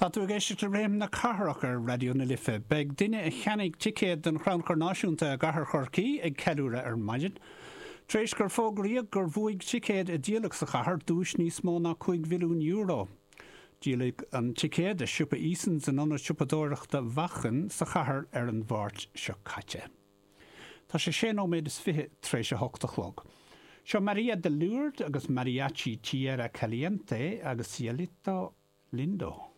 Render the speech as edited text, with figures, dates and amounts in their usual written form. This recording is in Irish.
Tá tú ag éisteacht le Réim na Cathrach ar Raidió na Life. Beidh duine a cheannaigh ticéad don Chrannchur Náisiúnta i gCathair Chorcaí ag ceiliúradh ar maidin. Tar éis gur fógraíodh gur bhuaigh ticéad a díoladh sa chathair duais níos mó ná €5 mhilliún. Díoladh an ticéad i siopa Easons in Ionad Siopadóireachta Mhachain sa chathair ar an Mháirt seo caite. Tá sé sé nóiméad is fiche tar éis a hocht a chlog. Seo Maria de Lourdes agus Mariachi Tierra Caliente agus Cielito Lindo.